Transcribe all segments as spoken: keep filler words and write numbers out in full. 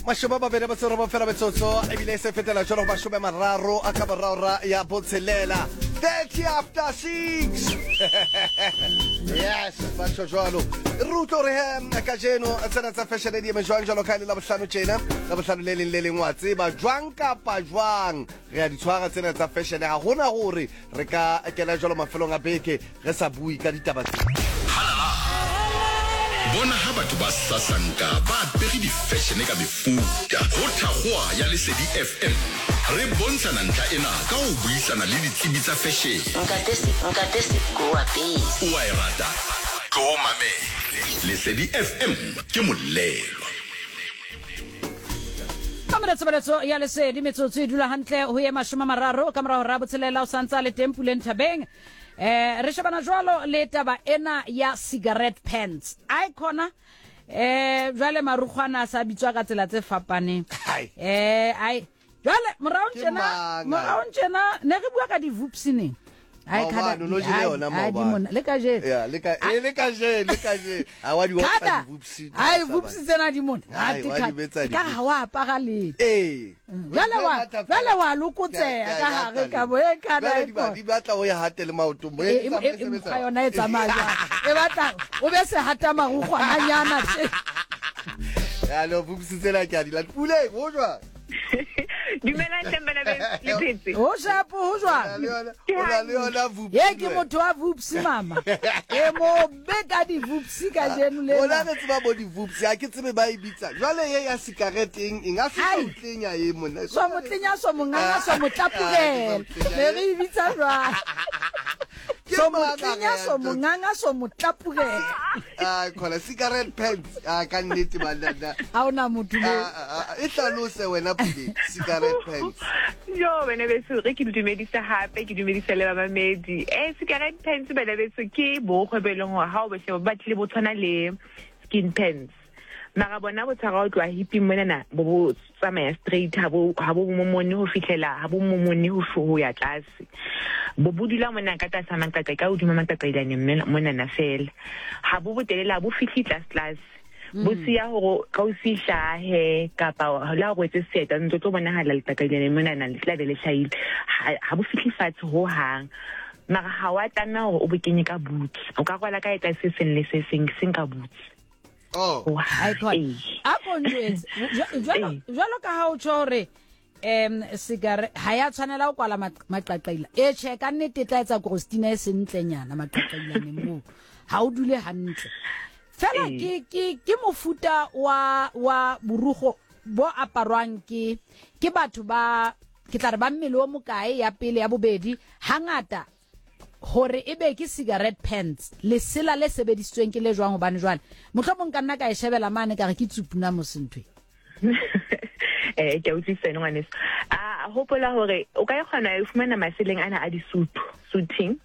Mashome a mabedi a metso e robong fela metsotso, ebile e se fetela jalo go mashome a mararo a ka morago ra ya botshelela, thirty after six. Yes, batho jwalo re utlwe gore he kajeno tsena tsa fashion di eme jwang, jwalo ka e le Labohlano tjena, Labohlano le leng le leng wa tseba jwang kapa jwang re a di tshwara tsena tsa fashion. Ga gona gore re ka kena jwalo mafelong a beke re sa bue ka ditaba tse. Bona ha batho ba sasanka ba apere di-fashion ka mefuta ho thakgoa ya Lesedi F M. Re bontshana ntlha ena ka ho buisana le ditsebi tsa fashion. Ntate ntate Siko wa pele. O a e rata, tlo mamele Lesedi F M ke molelwa. Ka mona tshebeletso ya Lesedi, metsotso e dula hantle ho ye mashome a mararo ka mora hora botshelela. O santsa le teng Puleng Thabeng. eh re shebana jwalo le taba ena ya cigarette pants ai khona. eh jwale marukgwana a sa bitswa ka tsela tse fapaneng. Hai. eh ai jwale moraong Ke tjena, mang, moraong tjena ne re bua ka di-vupsi neng. Ai, Maobane, o no jele ai, yona ai, di maobane. mona le kajeno. Ya, le ka e le kajeno, le kajeno ha wa di otla. Kada Di-vupsi ai, vupsi tsena di mona. Ai, wa di betsa. Ka ha wa apara letho. Ee. Jwale wa jwale wa lokotseha ka hare ka bo e kana Jwale e di ba- di batla o ya hate le maotong bo E- e e- tsamaya e- sebetsa. Mekgwa yona e tsamaya jwang, e batla o be sehata marukgwananyana tje. Ya, le vupsi tsena ke a di lata. Puleng, ho jwang? Dumelang hleng bana beso, le phetse? Ho shapo, ho O na le jwang? yona- o na le yona vupsi Ye ke wena. Motho wa vupsi mama, e mo be ka di-vupsi kajeno Rona lena. Re tseba bo di-vupsi, ha ke tsebe ba e bitsa jwale ye ya cigarette eng eng a se Ai. tlenya e monna. So motlenya, so monganga, so motlapurela, ne re e bitsa jwang? Ke So mang a motlenya, re so yang monganga, so motlapurela. Ah, khona cigarette pants, ah, ka nnete banna. Ha ona motho mo. Ah, ah, ah, e hlalose wena Puleng, cigarette pants. Jo, bana beso, re ke le dumedisa hape, ke dumedisa le bamamedi. Eh cigarette pants, bana beso, ke borokgwe bo e leng hore ha o bo sheba bo batlile bo tshwana le skin pants, mara bona bo tshwara ho tloha hiping monana, bo bo tsamaya straight, ha bo ha bo momone ho fihlela, ha bo momone ho ho ya tlase, bo bo dula mona ka tlasa maqaqe, ka hodima maqaqailane monana fela. Ha bo botelele, ha bo fihle tlase tlase, bo siya hore ka o se hlahe kapa le ha o rwetse seeta ntse tlo bonahala leqaqailane monana le tla be le hlahile. Ha ha bo fihle fatshe ho hang, mara ha wa tlameha hore o bo kenye ka boots, o ka rwala ka eta se seng le se seng seng ka boots. Oh. Ho Ai, hang. khona. Ee. A ko njwetse, Jwa- jwalo Ee. jwalo ka ha o tjho hore um cigarette ha ya tshwanela ho kwala maq- maqaqaila, e tjhe, ka nnete e tla etsa krostina e sentlenyana maqaqailaneng moo, ha o dule hantle fela. Ee. ke ke ke mofuta wa wa borugo bo aparwang ke ke batho ba, ke tla re ba mmele o mokae? Ya pele, ya bobedi, hangata hore e be ke cigarette pants, lesela le sebedisitsweng ke le jwang? Hobane jwale mohlomong ka nna ka e shebela mane ka re ke tsupuna mosentwe. eh ke a utlwisisa ene ngwaneso. A hopola hore o ka e kgona ho fumana maseleng ana a disutu, suiting,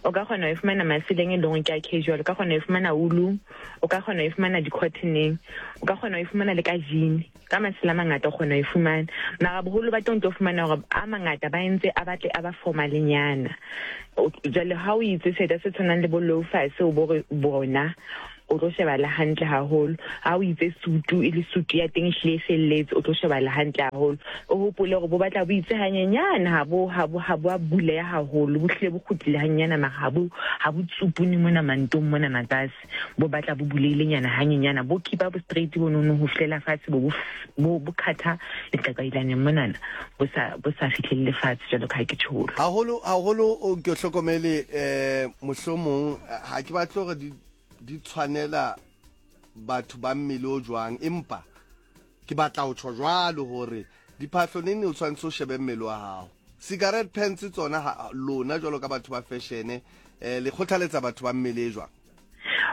o ka kgona ho e fumana maseleng e leng hore ke a casual, o ka kgona ho e fumana woolong, o ka kgona ho e fumana di-cottoneng, o ka kgona ho e fumana le ka jean, ka masela a mangata o kgona ho e fumana. Mara boholo ba teng o tlo fumana hore a mangata ba entse a batle a ba formalenyana. O- jwale ha o itse seeta se tshwanang le bo loafers, o bo re bona o tlo shebala hantle haholo. Ha o itse sutu, e le sutu ya teng e hlile e felletse, o tlo shebala hantle haholo. O hopole hore bo batla bo itse hanyenyane, ha bo ha bo ha bo a buleha haholo, bo hlile bo kgutlile hanyenyana, mara ha bo ha bo tsupune mona mantong mona matlase, bo batla bo bulehilenyana hanyenyana, bo keepa bo straight bo nono ho fihlela fatshe, bo bo f- bo bo khatha leqaqailaneng monana, bo sa bo sa fihlelle fatshe jwalo ka ha ke tjholo. Haholo haholo o ke o hlokomele, eh mohlomong ha ke batle hore di di tshwanela batho ba mmele o jwang, empa ke batla ho tjho jwalo hore diphahlo neng o tshwanetse o shebe mmele wa hao. Cigarette pants tsona, ha lona jwalo ka batho ba fashion, eh le kgothaletsa batho ba mmele e jwang?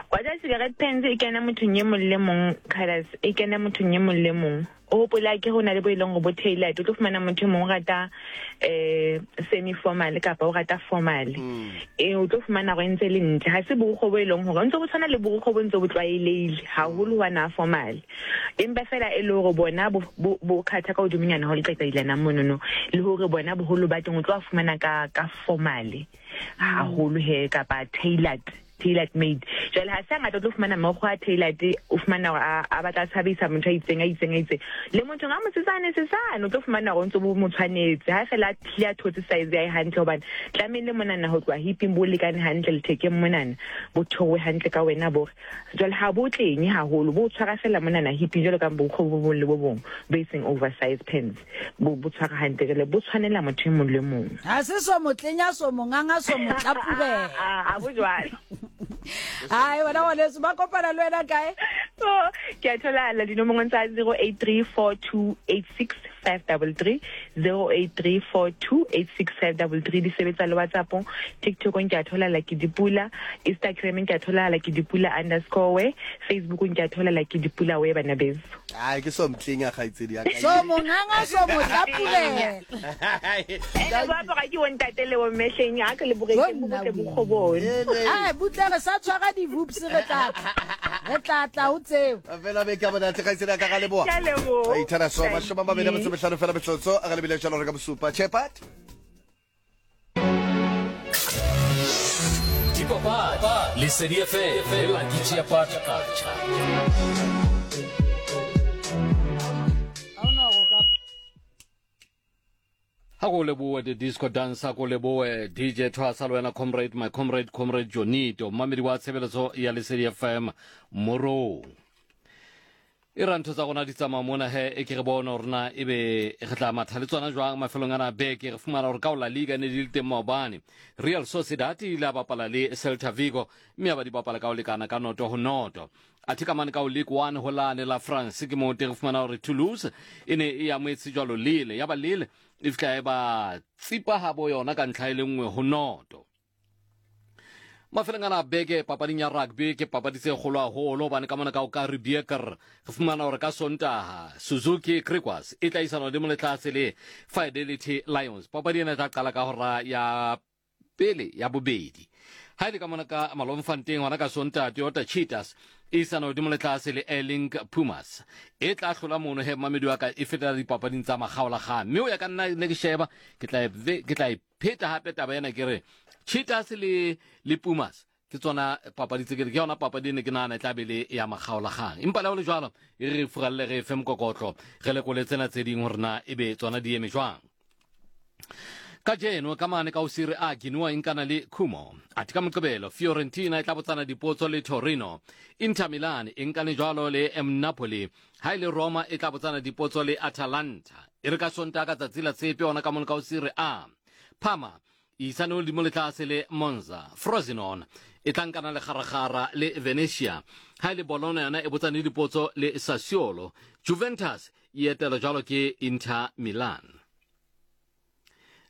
Wa tseba, cigarette pants e kena mothong e mong le mong, colours e kena mothong e mong le mong. O hopola ke ho na le bo e leng hore bo tailored, o tlo fumana motho e mong o rata eh semi formal kapa o rata formal, e o tlo fumana hore e ntse e le ntle. Ha se borukgo bo e leng hore ntse bo tshwana le borukgo bo ntse bo tlwaelehile haholo wa na formal, empa fela e le hore bona bo bo bo khatha ka hodimonyana ho leqaqailana monono, le hore bona boholo ba teng o tlo a fumana ka ka formal haholo he kapa tailored. Tailored made. Jwale ha se ngata o tlo fumana mokgwa tailored, o fumana hore a a batla tshabisa motho a itseng a itseng a itseng. Le motho nga mosetsane sesane o tlo fumana hore o ntso bo mo tshwanetse. Ha fela a tlile a thotse size ya hae hantle, hobane tlamehile monana ho tloha hiping bo lekane hantle, lethekeng monana bo theohe hantle ka wena bo. Jwale ha bo tlenye haholo, bo tshwara fela monana hiping jwalo ka bokgwa bo bong le bo bong bo seng oversize pants, bo bo tshwara hantle, jwale bo tshwanela motho e mong le mong. Ha se so motlenya so monganga so motlapubela. A bo jwalo. Ai wena ngwaneso, ba kopana le wena kae? Oh, ke a tholala dinomoro tsa zero eight three four two eight six five double three, zero eight three four two eight six five double three. Di sebetsa le WhatsApp-ong, TikTok-ong ke a tholala ke Dipula, Instagram ke a tholala ke Dipula underscore we, Facebook ke a tholala ke Dipula we, bana beso. Ai ke so mtlenya kgaitsedi ya ka. So monganga so motlapubela. Ene ba apara ke bontate le bommehleng, ha ke le boreke bo botle bo kgobone. Ai butle re sa tshwara di-hoops, re tla re tla tla ho tseo. Fela be ka bona tle kgaitsedi ya ka, ga leboha. Ke a leboha. Ai thana so mashome a mabedi a metso e mehlano fela metsotso, a re lebile jalo re ka bosupa. Chepat. Dipapadi, Lesedi F M, le Lucky Chepat Kacha. Ha go leboe the disco dancer, go leboe D J Thwasa, le wena comrade, my comrade, comrade Jonito, mmamedi wa tshebeletso ya Lesedi F M Morong. E ra ntho tsa rona di tsamaya mona he, e ke re bone hore na ebe re tla matha le tsona jwang mafelong ana a beke. Re fumana hore ka ho La Liga ne di le teng maobane, Real Sociedad e ile ya bapala le Celta Vigo, mme ya ba di bapala ka ho lekana ka noto ho noto. Athe ka mane ka ho Ligue one ho lane la France, ke moo teng re fumana hore Toulouse e ne e amohetse jwalo Lille, ya ba Lille e fihla e ba tsipa habo yona ka ntlha e le nngwe ho noto. Mafelong ana a beke papading ya rugby ke papadi tse kgolo haholo, hobane ka mona ka o ka Ribieker re fumana hore ka Sontaha Suzuki Griquas e tla isana hodimo le tlase le Fidelity Lions. Papadi ena e tla qala ka hora ya pele ya bobedi. Ha e le ka mona ka Malomfanteng hona ka Sontaha, Toyota Cheetahs e isana hodimo le tlase le Airlink Pumas e tla hlola mono he mamedi wa ka e fetela dipapading tsa makgaolakgang. Mme ho ya ka nna ne ke sheba, ke tla e ke tla e pheta hape taba ena, ke re Cheetahs le le Pumas ke tsona papadi tse ke ke yona papadi ne ke nahana e tla be le ya makgaolakgang. Empa le ho le jwalo, e re furalle re fe mokokotlo, re lekole tsena tse ding hore na ebe tsona di eme jwang. Kajeno ka mane ka ho Serie A, Genoa e nkana le Como. Athe ka Moqebelo Fiorentina e tla botsana dipotso le Torino. Inter Milan e nkane jwalo le M Napoli. Ha e le Roma e tla botsana dipotso le Atalanta. E re ka Sontaha ka tsatsi la tshepe hona ka mona ka ho Serie A, Parma e isane hodimo le tlase le Monza. Frosinone e tla nkana le Kgarakgara le Venezia. Ha e le Bologna yona e botsane dipotso le Sassuolo. Juventus e etelwa jwalo ke Inter Milan.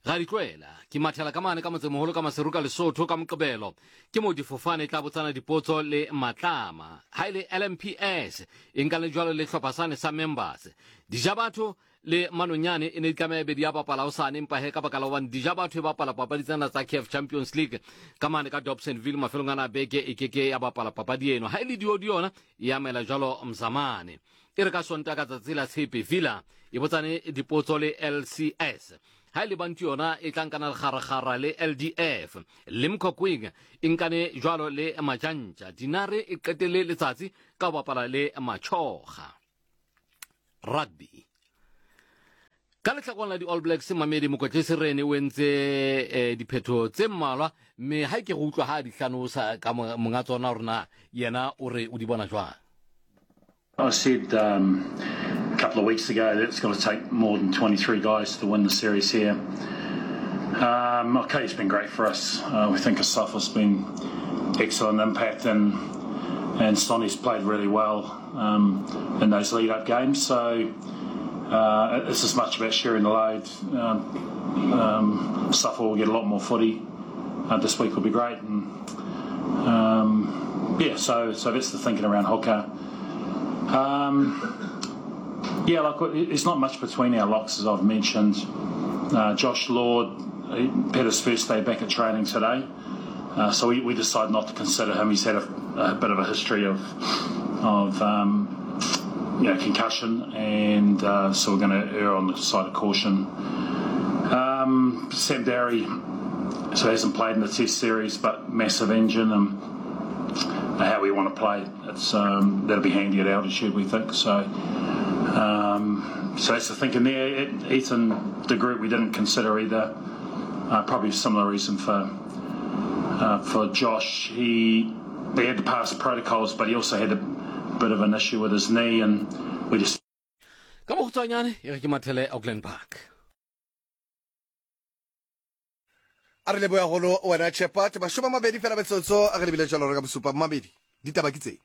Ga di tlohela ke mathela ka mane ka motsemoholo ka Maseru ka Lesotho ka Moqebelo, ke moo difofane e tla botsana dipotso le Matlama. Ha e le L M P S e nka le jwalo le hlopha sane sa members. Dijabatho le Manonyane e ne di tlameha ebe di a bapala hosane, empa he ka baka la hobane Dijabatho e bapala papadi tsena tsa C A F Champions League ka mane ka Dobsonville mafelong ana a beke, e keke ya bapala papadi eno. Ha e le Diodi yona e amela jwalo Mzamane. E re ka Sontaha ka tsatsi la tshepe, Villa e botsane dipotso le L C S. Ha e le Bantu yona e tla nkana le Kgarakgara le L D F. Limkokwing e nkane jwalo le Majantja. Dinare e qetelle letsatsi ka ho bapala le Machoga. Rugby. Ka lehlakoreng la di-All Blacks, Mamedi Mokwetlisi Rene o entse eh, diphetho tse mmalwa, mme ha ke go utlwa ha di hlanosa ka monga tsona hore na yena o re o di bona jwang. I said um, a couple of weeks ago that it's going to take more than twenty-three guys to win the series here. Um, okay, it's been great for us. Uh, we think Asafa's been excellent impact, and and Sonny's played really well um, in those lead-up games. So uh, it's as much about sharing the load. Um, um, Safa will get a lot more footy uh, this week. Will be great, and um, yeah, so so that's the thinking around hooker. Um, yeah, like it's not much between our locks, as I've mentioned. Uh, Josh Lord had his first day back at training today, uh, so we, we decided not to consider him. He's had a, a bit of a history of of um, you know, concussion, and uh, so we're going to err on the side of caution. Um, Sam Darry, so hasn't played in the Test series, but massive engine, and how we want to play. It's um, that'll be handy at altitude, we think. So, um, so that's the thinking there. It, Ethan de Groot we didn't consider either. Uh, probably a similar reason for uh, for Josh. He he had to pass protocols, but he also had a bit of an issue with his knee, and we just. Ka bokhutswanyane e re ke mathele Auckland Park. A re leboya golo wena Shepherd, mashome a mabedi fela metsotso a re lebile jalo re ka bosupa mabedi. Ditaba ke tse.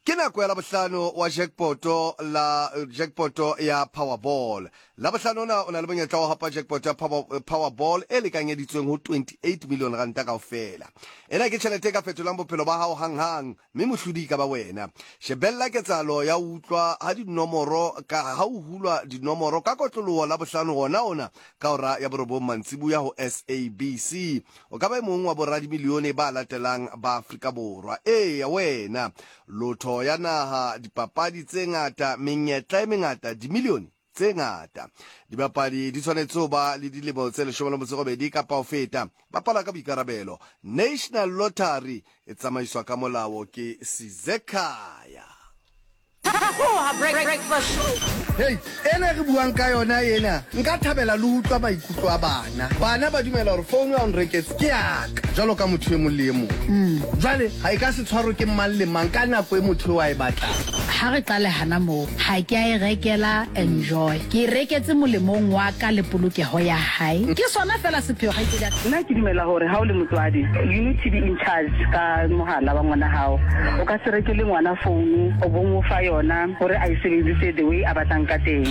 Ke nako ya Labohlano wa jackpoto la jackpoto ya Powerball. Labohlano ona o na le monyetla wa hapa jackpot ya Power, Powerball e lekanyeditsweng ho twenty-eight million ranta kaofela. Ena ke tjhelete e ka fetolang bophelo ba hao hanghang, mme mohlodi e ka ba wena. Shebella ketsahalo ya utlwa ha dinomoro ka ha o hulwa dinomoro ka kotloloho Labohlano hona ona ka hora ya borobong mantsibuya ho S A B C. O ka ba e mong wa boradimilione ba latelang ba Afrika Borwa. Eya wena, lotho ya naha, dipapadi tse ngata, menyetla e mengata, dimilione tse ngata. Dibapadi di tshwanetse ho ba le dilemo tse leshome le metso e robedi kapa ho feta. Bapala ka boikarabelo. National Lottery e tsamaiswa ka molao ke Sizekhaya. Hey, ena re buang ka yona ena, nka thabela le utlwa maikutlo a bana. Bana ba dumela hore phone ya nreketse ke yaka, jwalo ka motho e mong le e mong. Jwale ha e ka se tshwarwe ke mang le mang ka nako e motho eo a e batlang. Ha re qale hana moo, ha ke a e rekela enjoy. Ke e reketse molemong wa ka le polokeho ya hae. Ke sona fela sepheo ha itse. Nna ke dumela hore ha o le motswadi, you need to be in charge ka mohala wa ngwana hao. O ka se rekele ngwana phone, o bo mo fa yona hore a e sebedise the way a batlang ka teng.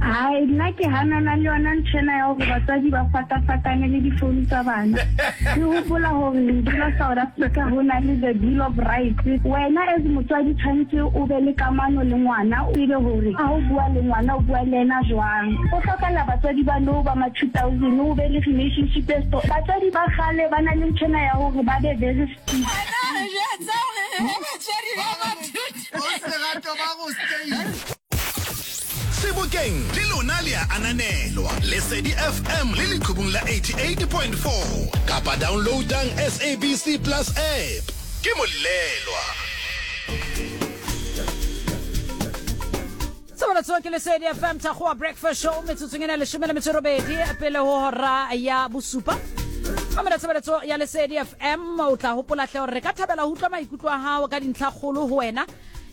Hai, nna ke hanana le yona ntho ena ya hore batswadi ba fatafatane le difounu tsa bana. Ke hopola hore re dula South Africa ho na le the Bill of Rights. Wena as motswadi tshwanetse o be le kamano le ngwana, o tsebe hore ha o bua le ngwana o bua le ena jwang. Ho hlokahala batswadi ba nou ba ma two thousand o be le relationship e strong. Batswadi ba kgale ba na le ntho ena ya hore ba be very strict. Sebokeng le lona le a ananelwa Lesedi F M le leqhubung la eighty-eight point four kapa downloadang S A B C Plus app. Ke molelwa. Tshebeletso ke Lesedi F M Thakgowa Breakfast Show metsotsong ena leshome le metso e robedi pele ho hora ya bosupa. Mamela tshebeletso ya Lesedi F M, o tla hopola hle hore re ka thabela ho utlwa maikutlo a hao ka dintlha kgolo ho wena.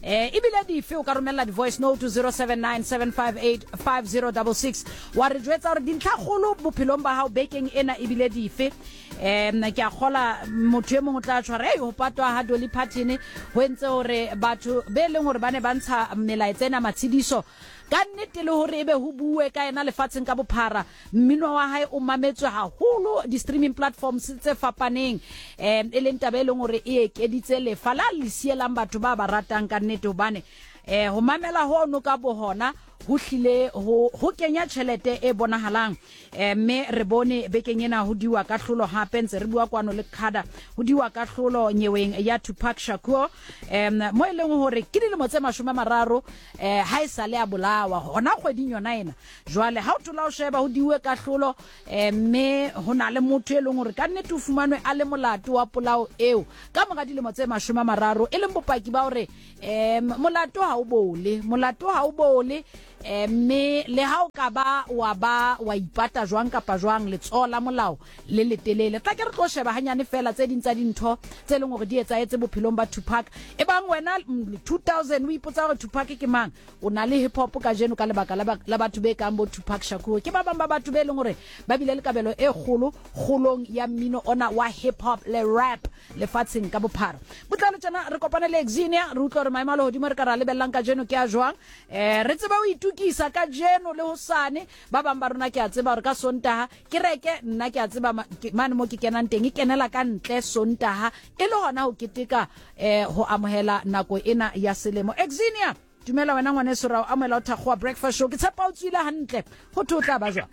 Eh, ebile dife o ka romella di-voice note to zero seven nine seven five eight five zero six six wa re jwetsa hore dintlha kgolo bophelong ba hao bekeng ena ebile dife. Em ke a kgola motho e mong o tla tshwara ei ho patwa ha Dolly Parton ho entse hore batho be leng hore ba ne ba ntsha melaetsa ena matshidiso ka nnete le hore ebe ho bue ka yena lefatsheng ka bophara. Mmino wa hae o mametswe haholo di-streaming platforms tse fapaneng, em e leng taba e leng hore e ekeditse lefa la le sielang batho ba ba ratang ka nnete, hobane eh ho mamela hono ka bohona ho hlile ho ho kenya tjhelete e bonahalang. Eh mme re bone bekeng ena ho diwa ka hlolo hape ntse re bua kwano le Khada ho diwa ka hlolo nyeweng ya Tupac Shakur, em mo e leng hore ke dilemo tse mashome a mararo eh ha e sale a bolawa hona kgweding yona ena. Jwale ha o thola o sheba ho diwe ka hlolo, eh mme ho na le motho e leng hore ka nnete o fumanwe a le molato wa polao eo ka mora dilemo tse mashome a mararo, e leng bopaki ba hore em molato ha o bole, molato ha o bole. Mme le ha o ka ba wa ba wa ipata jwang kapa jwang, letsoho la molao le letelele. Tla ke re tlo sheba hanyane fela tse ding tsa dintho tse leng hore di etsahetse bophelong ba Tupac. E bang wena two thousand o ipotsa hore Tupac ke mang, o na le hip hop kajeno ka lebaka la batho be kang bo Tupac Shakur. Ke ba bang ba batho be leng hore ba bile le kabelo e kgolo kgolong ya mmino ona wa hip hop le rap lefatsheng ka bophara. Botlalo tjena re kopane le Exinia, re utlwa hore maemo a lehodimo re ka ra lebellang kajeno ke a jwang. Eh re tseba o itukisa ka jeno le hosane. Ba bang ba rona ke a tseba hore ka Sontaha ke reke, nna ke a tseba mane mo ke kenang teng e kenela ka ntle Sontaha e le hona ho keteka eh ho amohela nako ena ya selemo. Exinia, dumela wena ngwaneso, ra o amohela o Thakgowa Breakfast Show. Ke tshepa o tswile hantle, ho thwe o tla ba jwang?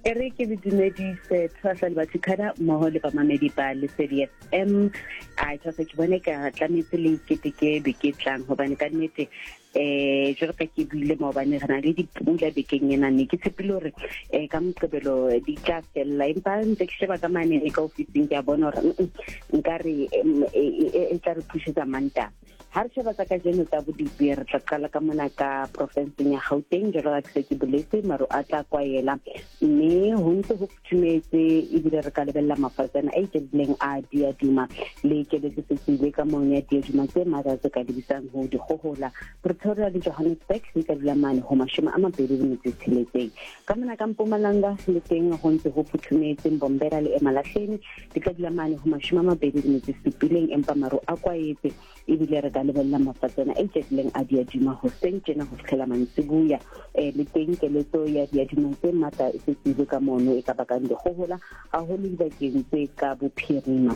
E re ke le dumedise Thwasa le Bathukhada mmoho le bamamedi ba Lesedi F M. A Thwasa, ke bone ka tlametse le iketeke beke e tlang, hobane ka nnete eh jwalo ka ke buile maobane re na le dipula bekeng ena, ne ke tshepile hore eh ka Moqebelo di tla fella, empa ntse ke sheba ka mane ka ofising ke a bona hore nkare e tla re pushetsa Mantaha. Ha re sheba tsa kajeno tsa bodipi, re tla qala ka mona ka profenseng ya Gauteng, jwalo ka ke se ke boletse, maru a tla kwaela mme ho ntse ho futhumetse, ebile re ka lebella mafatsana a iketlileng a diaduma le keletso se tswile ka mong ya diaduma tse matla tse ka lebisang ho dikgohola. Pretoria le Johannesburg di ka dula mane ho mashome a mabedi le metso e tsheletseng. Ka mona ka Mpumalanga le teng ho ntse ho futhumetse, Mbombela le Emalahleni di ka dula mane ho mashome a mabedi le metso e supileng, empa maru a kwaetse, ebile re ka lebella mafatsana a iketlileng a diaduma hoseng tjena ho fihlela mantsiboya. Eh le teng keletso ya diaduma tse matla e setsile ka mono e ka bakang dikgohola haholo dibakeng tse ka bophirima.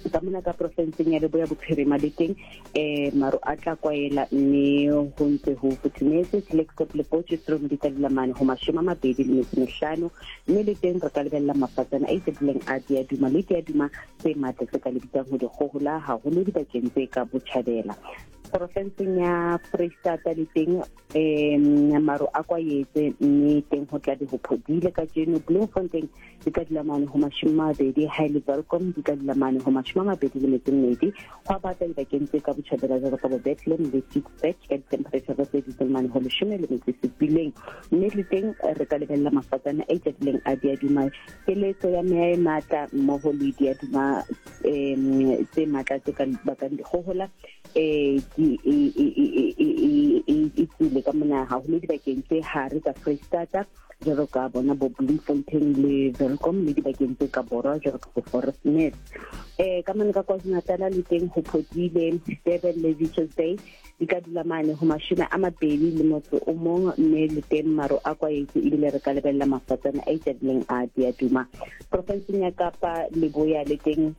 Ka mona ka profenseng ya Leboya Bophirima le teng eh maru a tla kwaela mme ho ntse ho futhumetse. Klerksdorp le Potchefstroom di ka dula mane ho mashome a mabedi le metso e mehlano, mme le teng re ka lebella mafatsana a iketlileng a diaduma le diaduma tse matla tse ka lebisang ho dikgohola haholo dibakeng tse ka botjhabela. Profenseng ya Freistata le teng eh maru a kwaetse mme teng ho tla be ho phodile kajeno. Bloemfontein di ka dula mane ho mashome a mabedi, ha e le Welkom di ka dula mane ho mashome a mabedi le metso e mmedi. Ho a bata dibakeng tse ka botjhabela jwalo ka bo Bethlehem le Ficksburg ka di-temperature tse dutseng mane ho leshome le metso e supileng, mme le teng re ka lebella mafatsana a iketlileng a diaduma, keletso ya meya e matla mmoho le diaduma um tse matla tse ka bakang dikgohola eh ke e e e e tswile ka mona haholo dibakeng tse hare tsa Freistata jwalo ka bona bo Bloemfontein le Welkom le dibakeng tse ka borwa jwalo ka bo Forest Nest. Eh ka mona ka KwaZulu-Natal le teng ho phodile, Durban le Richards Bay di ka dula mane ho mashome a mabedi le motso o mong, mme le teng maru a kwaetse, ebile re ka lebella mafatsana a iketlileng a diaduma. Profenseng ya Kapa Leboya le teng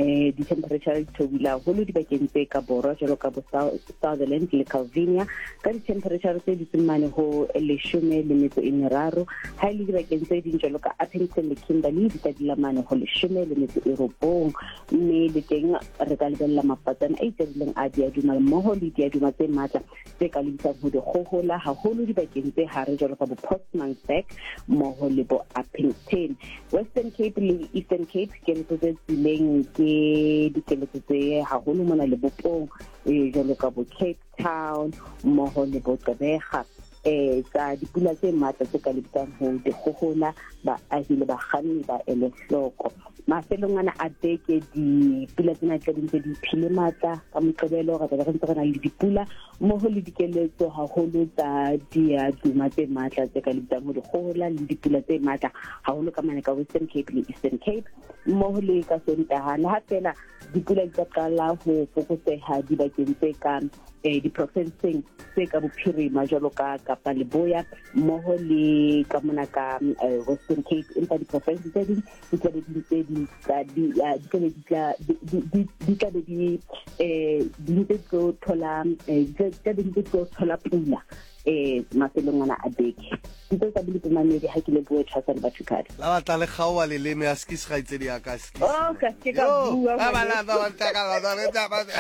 eh di-temperature di theohile haholo dibakeng tse ka borwa jwalo ka bo Sutherland le Calvinia ka di-temperature tse dutseng mane ho leshome le metso e meraro. Ha e le dibakeng tse ding jwalo ka Upington le Kimberley di ka dula mane ho leshome le metso e robong, mme le teng re ka lebella mafatsana a iketlileng a diaduma mmoho le diaduma tse matla tse ka lebisang ho dikgohola haholo dibakeng tse hare jwalo ka bo Postmasburg mmoho le bo Upington. Western Cape le Eastern Cape keletso tse tswileng ke dikeletso tse haholo mona lebopong jwalo ka bo Cape Town mmoho le bo Gqeberha eh tsa dipula tse matla tse ka lebisang ho dikgohola, baahi le bakganni ba ele hloko. Mafelong ana a beke dipula tsena tla di ntse di phile matla ka Moqebelo, re tla re ntse re na le dipula mmoho le dikeletso haholo tsa diaduma tse matla tse ka lebisang ho dikgohola le dipula tse matla haholo ka mane ka Western Cape le Eastern Cape mmoho le ka Sontaha. Le ha fela dipula di tla qala ho fokotseha dibakeng tse ka eh diprofenseng tse ka bophirima jwalo ka Kapa Leboya mmoho le ka mona ka Western Cape, empa diprofense tse ding di tla be di ntse di tla di di tla be di tla di tla be di eh di ntse tlo thola di tla be di ntse tlo thola pula eh mafelong ana a beke. Ntse tsa bile mamedi ha ke le bue Thwasa le Bathukhada. La batla le kgaoa leleme a skis kgaitsedi ya ka skis. Oh ka ke ka bua. Ba ba la ba ba ka ba ba.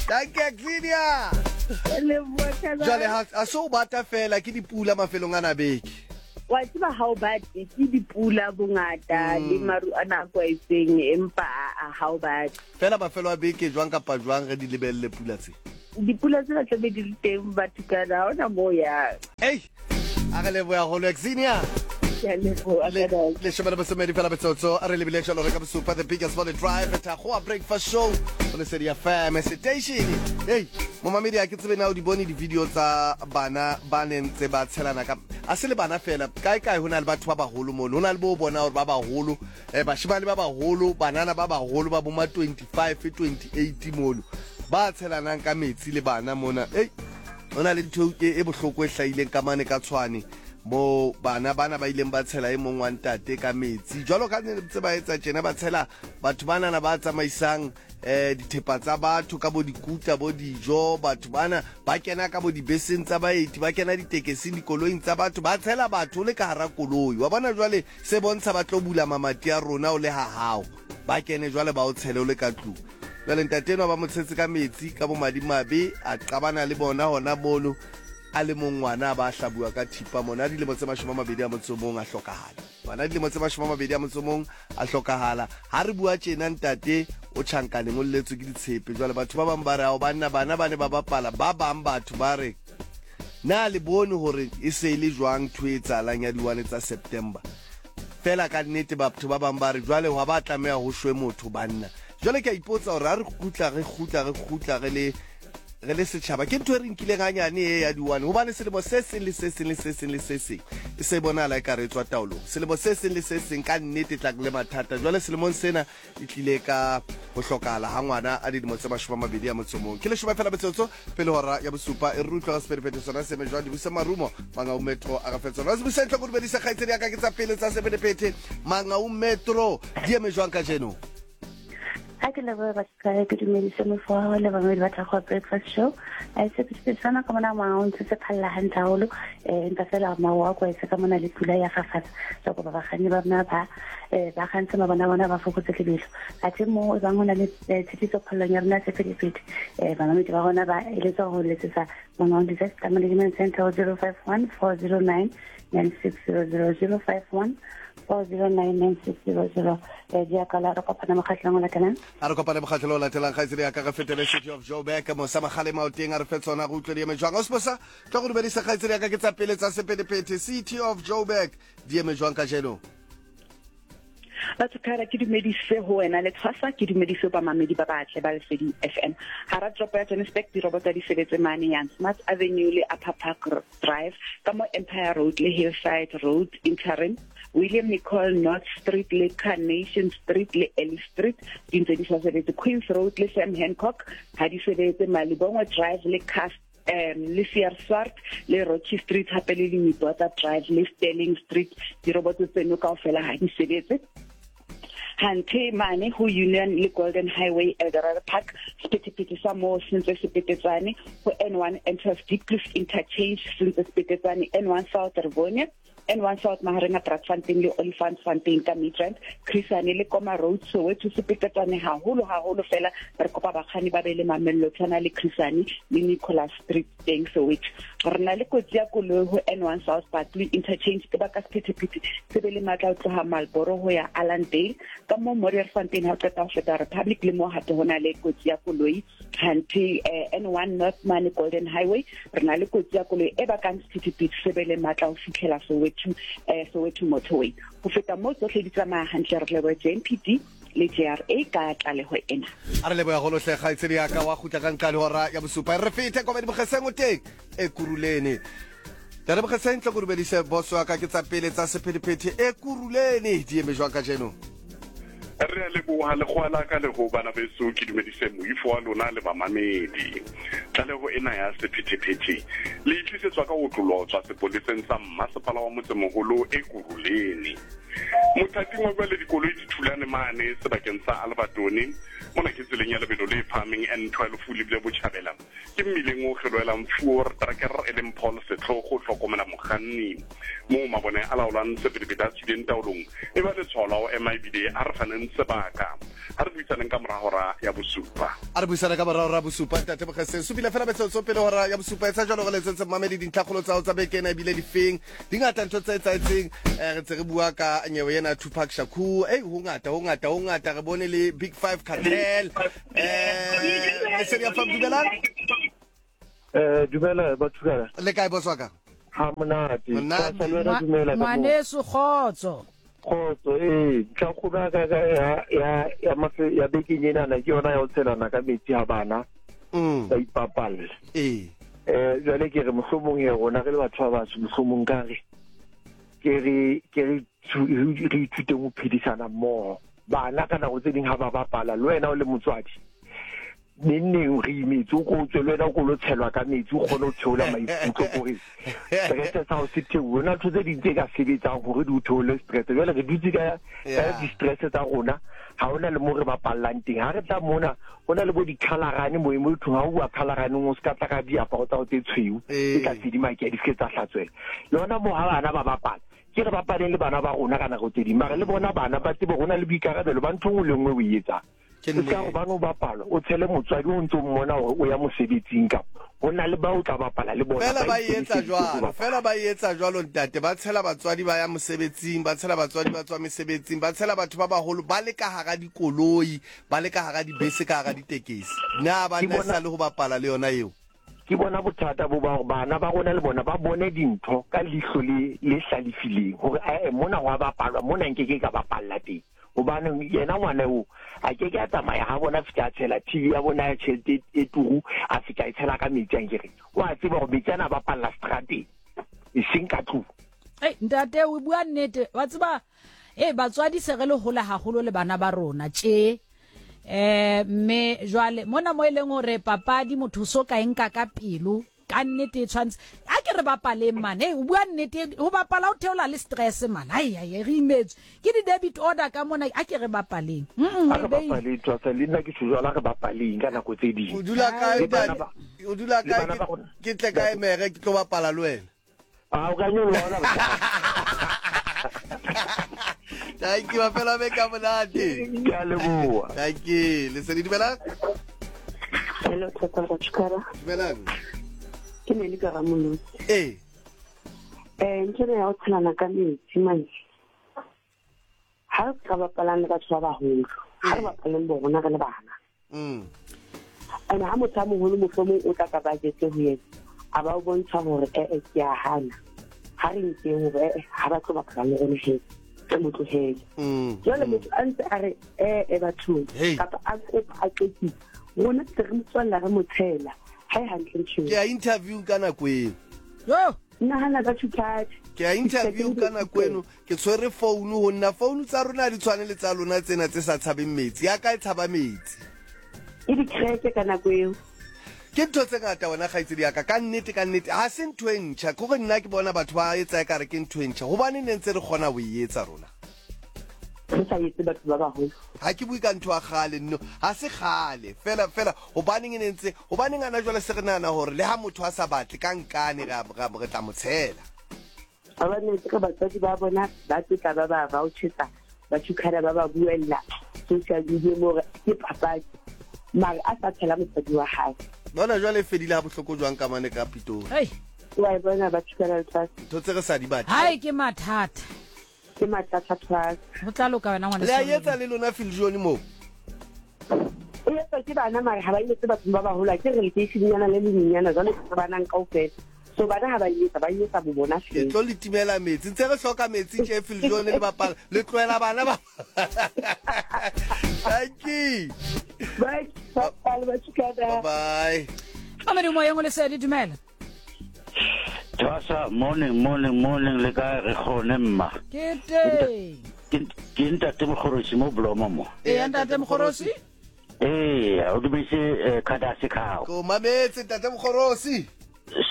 Thank you, Xenia. Jwale ha so bata fela ke dipula mafelong ana beke. Wa tseba ha o batle ke dipula bongata le maru a nako e itseng, empa ha o batle. Fela mafelo a beke jwang kapa jwang re di lebelle pula tse. Dipula tsena tla be di le teng Bathukhada, ha hona moo ya. Hey, a re leboha haholo Xenia. Leshome le bosomedi fela metsotso a re lebile jalo re ka bosupa the biggest volley drive Thakgoa breakfast show o Lesedi F M station. Hey, momamedi a ke tsebe na o di bone di-video tsa bana ba neng tse ba tshelana ka a se le bana fela kae kae ho na le batho ba baholo mono, ho na le bo bona hore ba baholo eh bashimane ba baholo, banana ba baholo ba boma twenty-five twenty-eight mono ba tshelanang ka metsi le bana mona. Hey, ho na le ntho e bohloko e hlahileng ka mane ka Tshwane mo bana bana ba ileng ba tshela e mong wa ntate ka metsi jwalo ka ntse ba etsa tjena, ba tshela batho banana ba tsamaisang eh dithepa tsa batho ka bo dikutla bo dijo. Batho bana ba kena ka bo dibeseng tsa baeti, ba kena ditekesing, dikoloing tsa batho, ba tshela batho le ka hara koloi. Wa bona jwale se bontsha ba tlo bula mamati a rona o le ha hao, ba kene jwale ba o tshele o le ka tlung. Jwale ntate enwa ba mo tshetse ka metsi ka bo madimabe, a qabana le bona hona mono, a le mong ngwana ba hlabua ka thipa mona, dilemo tse mashome a mabedi a motso mong a hlokahala. Ngwana dilemo tse mashome a mabedi a motso mong a hlokahala. Ha re bua tjena ntate o tjhankaneng o lletswe ke ditshepe. Jwale batho ba bang ba re ao banna bana ba ne ba bapala, ba bang batho ba re na le bone hore e se le jwang ntho e etsahalang ya diwane tsa September. Fela ka nnete batho ba bang ba re jwale hwa ba tlameha ho shwe motho banna. Jwale ke a ipotsa hore ha re kgutla re kgutla re kgutla re le re le setjhaba, ke ntho e re nkileng hanyane e ya diwane, hobane selemo se seng le se seng le se seng le se seng e se bonahala e ka re tswa taolong. Selemo se seng le se seng ka nnete tla le mathata. Jwale selemong sena e tlile ka ho hlokahala ha ngwana a dilemo tse mashome a mabedi a motso mong. Ke leshome fela metsotso pele hora ya bosupa. E re utlwa ka sephethephethe sona se jwang di busa marumo Mangaung Metro a re fetsa. Re busa ntlo go dumedisa kgaitsedi ya ka ke tsa pele tsa sephethephethe Mangaung Metro di eme jwang kajeno? Ha ke leboha batho ke dumedise mofo wa le bamedi ba Thakgoa Breakfast Show. A se se sana ka mona Mangaung se se phalla hantle haholo, eh empa fela mawa kwa se ka mona le pula ya fafatsa. So go ba bakganni ba rona ba eh ba kgantse mabona bona ba fokotse lebelo. Athe mo e bang hona le tshitiso phallong ya rona sephethephethe, eh bamedi ba rona ba eletsa ho letsetsa Mangaung Disaster Management Center zero five one four zero nine nine six zero zero zero five one four zero nine nine six zero zero. Eh di akala re kopana mokgatlong o latelang. A re kopane mokgatlong o latelang kgaitsedi ya ka re fetele City of Joburg mosa magale maoteng a re fe tsona go utlwe di eme jwang. O se tlo go dumedisa kgaitsedi ya ka ke tsa pele tsa sephethephethe City of Joburg di eme jwang kajeno? Batho kara ke dumedise ho wena le tshwasa, ke dumedise ba mamedi ba batle ba Lesedi F M. Hara toropo ya Johannesburg diroboto di sebetse mane Jan Smuts Avenue le Upper Park Drive, ka mo Empire Road le Hillside Road interim, William Nicol North Street le Carnation Street le Ellis Street di ntse di sa sebetse, Queens Road le Sam Hancock ha di sebetse, Malibongwe Drive le Cast um le C R Swart le Rocky Street hape le Limpopo Drive le Sterling Street diroboto tseno kaofela ha di sebetse. Hante mane ho Union le Golden Highway Eldorado Park sephethephethe sa moo se ntse se petetsane, ho N one enters Diepkloof Interchange se ntse se petetsane, N one South Rivonia, N one South mahareng a Brakfontein le Olifantsfontein ka Midrand, Chrisane le Koma Road Soweto se petetsane haholo haholo fela. Re kopa bakganni ba be le mamello tshwana le Chrisane le Nicholas Street teng Soweto. Re na le kotsi ya koloi ho N one South Barkley Interchange ke baka sephethephethe se be le matla ho tloha Marlboro ho ya Allandale ka mo Modderfontein ha o qeta ho feta Republic le mo hape ho na le kotsi ya koloi. Hante N one North mane Golden Highway re na le kotsi ya koloi e bakang sephethephethe se be le matla ho fihlela Soweto eh Soweto Motorway. Ho feta mo tsohle di tsamaya hantle, re leboha J M P D le J R A ka tlaleho ena. A re leboha haholo hle kgaitsedi ya ka wa kgutla ka nqa le hora ya bosupa. Re fete kwa Bokgeseng o teng Ekurhuleni. Tere Bokgeseng tlo go dumedise boss wa ka ke tsa pele tsa sephethephethe Ekurhuleni di eme jwang kajeno? Re a leboha lekgowa la ka le ho bana beso, ke dumedise moifo wa lona le bamamedi. Tlaleho ena ya sephethephethe le itlisetswa ka ho tlolotswa sepoleseng sa mmasepala wa motsemoholo Ekurhuleni. Mothating wa jwale dikoloi di thulane mane sebakeng sa Albertone, mona ke tseleng ya lebelo le phahameng N twelve lebile botjhabela, ke mmileng o kgelohelang Fuor Tracker e leng Paul Setlhogo hlokomela mokganni moo mabone a laolang sephethephethe a tswileng taolong e ba letshwao la ho ema ebile a re faneng sebaka. Ha re buisaneng ka mora hora ya bosupa. A re buisane ka mora hora ya bosupa ntate Bokgeseng. Supile fela metsotso pele hora ya bosupa. Etsa jwalo re letsetse mamedi dintlhakgolo tsa hao tsa beke ena ebile difeng. Di ngata ntho tse etsahetseng. Eh re ntse re bua ka nyewe ena Tupac Shakur. Eh ho ngata ho ngata ho ngata re bone le Big Five Cartel. Eh Lesedi F M dumelang. Eh dumela batho ka. Le kae boss wa ka? Ha monate. Ngwaneso kgotso. Kgotso eh ntlhakgolo ya ka ya ya ya mafe ya bekeng enana ke yona ya ho tshelana ka metsi ha bana ba ipapalla. Eh eh jwale ke re mohlomong e rona re le batho ba batsho mohlomong ka re ke re ke re re ithuteng ho phedisana mmoho. Bana ka nako tse ding ha ba bapala le wena o le motswadi neng neng re imetse o ko tswe le wena o ko lo tshelwa ka metsi o kgone ho theola maikutlo kore stress sa hao se theohe. Hona ntho tse ding tse ka sebetsang hore di o theole stress. Jwale re dutse ka ka di-stress tsa rona, ha hona le mo re bapallang teng. Ha re tla mona ho na le bo dikhalarane mo mo thong ha o bua khalaraneng o se ka tla ka diaparo tsa hao tse tshweu tse tla tsedimake di se ke tsa hlatswela. Le hona moo ha bana ba bapala, ke re bapaleng le bana ba rona ka nako tse ding, mara le bona bana ba tsebe hona le boikarabelo ba ntho e nngwe le nngwe o e etsang. Ke Se ka hobane o bapala o tshele motswadi o ntso mmona hore o ya mosebetsing kapa ho na le ba o tla bapala le bona. Fela ba etsa ikemiseditse ho jwalo, bapala. fela ba etsa jwalo ntate, ba tshela batswadi ba ya mosebetsing, ba tshela batswadi ba tswa mesebetsing, ba tshela batho ba baholo ba le ka hara dikoloi, ba le ka hara dibese, ka hara ditekesi. Na ba Ke nna bona sa le ho bapala le yona eo? ke bona bothata bo ba hore bana ba rona le bona ba bone dintho ka leihlo le le hlalefileng hore ae mona ho a bapalwa, mona nkeke ka bapalla teng. Hobane yena ngwana eo a ke ke a tsamaya ha bona fihla a tshela T V ya bona ya tjhelete e turu, a fihla a e tshela ka metsi a nkere. O a tseba hore metsi ana a bapalla strateng, e seng ka tlung. Ei, ntate o bua nnete wa tseba eh batswadi se re le hola haholo le bana ba rona tje. Eh mme jwale mona mo e leng hore papadi motho so ka enka ka pelo ka nnete e tshwantse a ke re bapaleng man. Hey, o bua nnete, ho bapala o theola le stress man. Ai ai re imetswe ke di debit order ka mona, a ke re bapaleng. Mm A re bapaleng Twasa, le nna ke tjho jwalo, a re bapaleng ka nako tse ding. O dula kae Le bana ntate? ba O dula le kae? bana Ke ba rona. ke tle kae mere ke tlo bapala le wena? Ah, o ka nyoloha hona bohlano. Thank you, mafelo a beke a monate. Ke a leboha. Thank you. Lesedi, dumelang. Hello, Thata Ratshikara. Dumelang. Ke ne le ka Ramolotsi. Eh. Eh, ntho ena ya ho tshelana ka metsi manje. Ha re ka bapalang le batho ba baholo, ha re bapaleng bo rona re le bana. Mm. Ene ha motho a moholo mohlomong o tla ka budget ho yena, a ba o bontsha hore eh eh ke a hana. Ha re nkeng hore eh eh ha ba tlo bapala le rona he, re mo tlohele. Mm. Jwale motho a ntse a re eh eh bathong kapa a kopa a qetile, rona se re mo tswalla re mo tshela. Ha e hantle ntho eo. Ke a interview ka nako eno. Yo, nahana ka tshuphatsi. Ke a interview ka nako eno, ke tshwere phone ho nna, phone tsa rona ha di tshwane le tsa lona tsena tse sa tshabeng metsi. Ya ka e tshaba metsi. E di crack ka nako eo. Ke ntho tse ngata wena kgaitsedi ya ka, ka nnete ka nnete ha se ntho e ntjha. Ke hore nna ke bona batho ba etsa ekare ke ntho e ntjha. Hobane ne ntse re kgona ho e etsa rona. Re sa etse batho ba baholo. Ha ke bue ka ntho ya kgale nno, ha se kgale fela fela hobaneng e ne ntse, hobaneng ana jwale se re nahana hore le ha motho a sa batle ka nkane re re tla mo tshela. Ba ba ne ke batswadi ba bona ba tla ba ba vouchesa, ba tshukana ba ba buella social media mo re ke papadi. Mara a sa tshela motswadi wa hae. Bona jwale e fedile ha bohloko jwang ka mane ka Pitori. Hey. Wa e bona ba tshukana lefatshe. Ntho tse re sa di batle. Hai ke mathata. Ke mathata thwasa. Ho tla loka wena ngwana. Le a etsa le lona Philjohn moo. E etswa ke bana mara ha ba etse batho ba baholo, ke re lekeishenyana le lenyenyana jwale ke banang kaofela. So bana ha ba etsa, ba etsa bo bona Ke tlo le timela metsi, ntse re hloka metsi tje Philjohn le bapala, le tlohela bana ba. Thank you. Bye. Bye bye. Bye. Mamedi moyeng o Lesedi, dumela. Twasa, morning, morning, morning, le kae re kgone mma. Ke teng. Ke ntate Mokgorosi mo Blomo mo. Eh ntate Mokgorosi? Eh, o dumetse Kadasi khao. Ko mametse ntate Mokgorosi.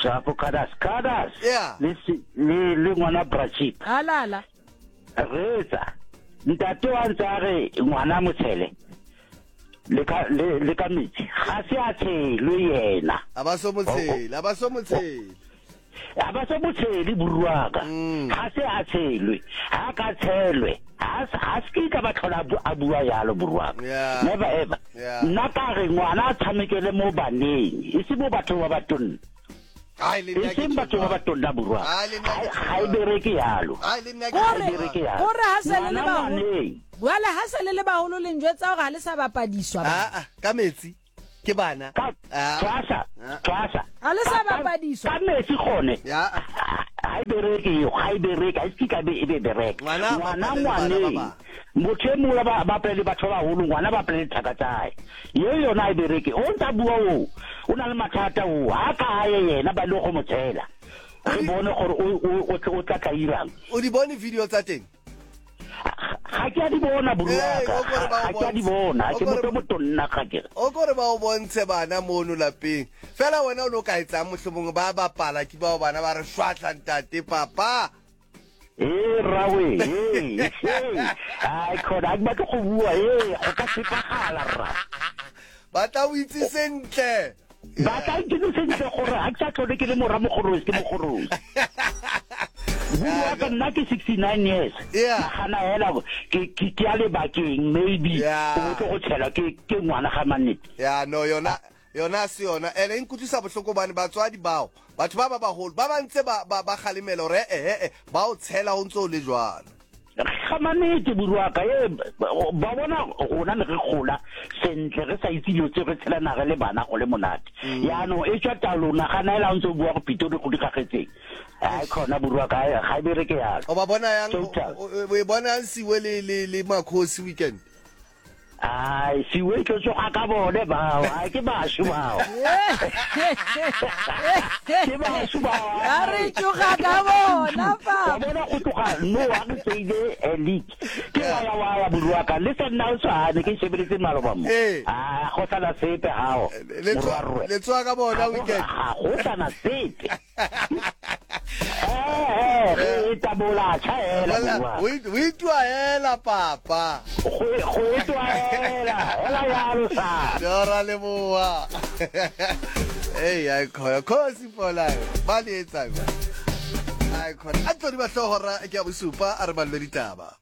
Shapo Kadas, Kadas. Yeah. Le le le ngwana Brachip. Alala. Retsa. Ntate wa ntse a re ngwana motshele. Le ka le le ka metsi. Ga se a tshelwe yena. A ba so motshele, a ba so motshele. A ba so motshele buruaka. Ga se a tshelwe. Ha ka tshelwe. Ha ha se ka ba tlhola a bua yalo buruaka. Never ever. Nna ka re ngwana a tshamekele mo baneng, e se mo bathong ba batonna. Ai le nna ke batho ba batonna buruaka. Ha e bereke yalo. Ai le nna ke bereke yalo. Hore ha se le le baholo. Jwale ha se le le baholo le njwetsa hore ha le sa bapadiswa ba. Ah ah, ka metsi ke bana. Twasa, twasa. Ha le sa bapadiswa. Ka metsi gone. Ya. Ha e bereke yo, ha e bereke, ha e se ka be e be bereke. Ngwana ngwaneng. Motho e mongwe ba bapale le batho ba baholo, ngwana ba bapale le thaka tsa hae. Ye yona ha e bereke. O ntsa bua o, o na le mathata o, ha ka hae yena ba le go mo tshela. Re bone gore o o o tla tla irang. O di bone video tsa teng? Ga ke a di bona buruaka. O kore ba o Ga ke a di bontshe. bona. O Ke kore- motho o motonna ga ke. O kore ba o bontshe bana mono lapeng. Fela wena o no ka etsang mohlomong ba bapala ke bao bana ba re shwatla ntate papa. Ee rrawe, ee, ee. Ai khona, ha ke batle go bua, ee, go ka tshepagala rra. Ba tla o itse sentle. Ba tla itse sentle gore ha ke sa tlhole ke le mora mogorosi ke mogorosi. Bua ka nna ke sixty-nine years. Yeah. Nagana hela ke ke ke a lebakeng maybe o tlo go tshela ke ke ngwana ga mannete. Ya no yona yona se yona ene e nkutlwisa bohloko bane batswadi bao batho ba ba baholo ba ba ntse ba ba ba kgalemela hore eh eh ba o tshela ho ntse o le jwalo. Ga mannete buruaka e ba bona rona ne re gola sentle re sa itse dilo tse re tshela naga le bana go le monate. Yaanong e tswa taolo nagana hela o ntse o bua go Pitori go dikgagetseng. Ai khona buruaka ga e bereke yalo. O ba bona yang o e bona yang Siwe le le le Makhosi weekend. Ai Siwe tlo tsoga ka bone bao, ai ke bashu bao. Ke bashu bao. A re tsoga ka bona papa. Wa bona go tloga no a re tseile league. Ke wa ya wa ya buruaka le sa nna o tshwane ke shebeletse maloba mo. Ah go sana sepe hao. Le tsoga ka bona weekend. Ga go sana sepe. Eh eh re tabola tshela buruaka. O itwa hela papa. Go go itwa hela, hela yalo sa. Dora leboa. Hey, ai khona khosi for life. Ba le etsa. Ai khona. A tlo di ba hlohora ke a bosupa a re balle ditaba.